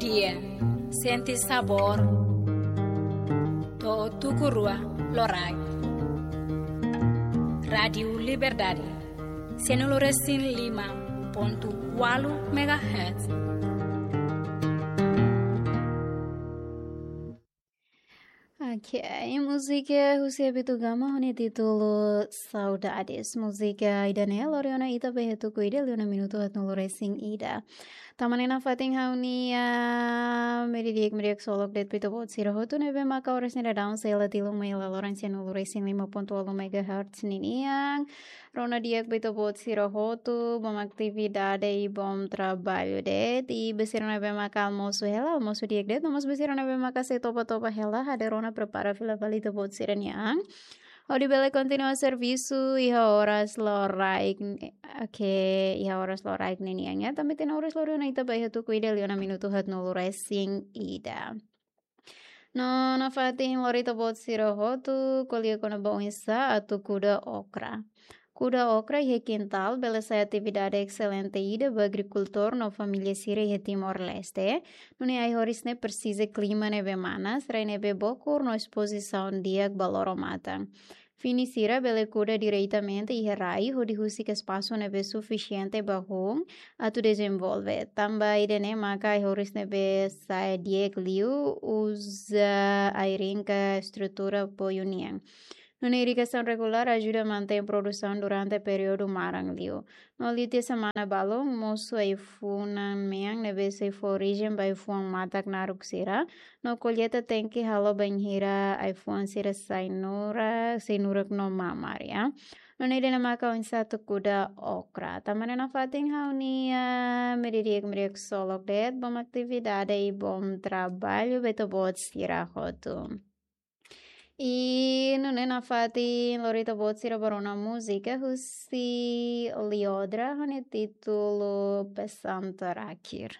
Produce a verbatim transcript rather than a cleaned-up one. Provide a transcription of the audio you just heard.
Dia, sente sabór. To'o tuku rua loraik. Rádiu Liberdade, sianulu resin lima pontu ualu megahertz. Ok, múzika husi Abito Gama ho nia títulu Saudades. Múzika ida-ne'e lori ona ita ba iha tuku ida liu ona minutu haatnulu resin ida. Tanba ne'e nafatin ha'u-nia meiudia di'ak, meiudia di'ak ksolok de'it ba ita-boot sira hotu ne'ebé maka oras ne'e daudaun sei hela tilun mai hela loron sianulu resin lima pontu ualu megahertz ninian. Rona di'ak ba ita-boot sira hotu, bom atividade i bom traballu de'it. I ba sira ne'ebé maka almosu hela, almosu di'ak de'it, no mós ba sira ne'ebé maka sei topa-topa hela, hade rona prepara fila fali ita-boot sira-nia an. Hodi bele kontinua servisu iha oras loraik, ok, iha oras loraik ninian, ya. Tanba ita-nia oras lori ona ita ba iha tuku ida liu ona minutu haatnulu resin ida. No nafatin lori ita-boot sira hotu ko'alia kona-ba oinsá atu kuda okra. Kuda okra iha kintál bele sai atividade exelente ida ba agrikultór no família sira iha Timor-Leste. Nune'e ai-horis ne'e presiza klima ne'ebé manas, rai ne'ebé bokur no espozisaun di'ak ba loro-matan. Fini sira bele kuda diretamente iha rai hodi husik espasu ne'ebé sufisiente ba hun atu dezenvolve. Tanba ida-ne'e maka ai-horis ne'ebé sa'e di'ak liu uza ai-rinka estrutura apoiu nian. Nune'e irrigasaun regulár ajuda mantein produsaun durante períodu maran liu. No liu tiha semana balun, mosu ai-funan mean ne'ebé sei fó orijen ba ai-fuan matak naruk sira. No kolleita tenke halo bainhira ai-fuan sira sai nurak, sai nurak no mamar, ya. Nune'e ida-ne'e maka oinsá atu kuda okra. Tanba ne'e nafatin ha'u-nia meiudia di'ak, meiudia di'ak ksolok de'it, bom atividade i bom traballu ba ita-boot sira hotu. I nune'e nafatin lori ita-boot sira ba rona múzika husi Liodra ho nia títulu Pesan Terakhir.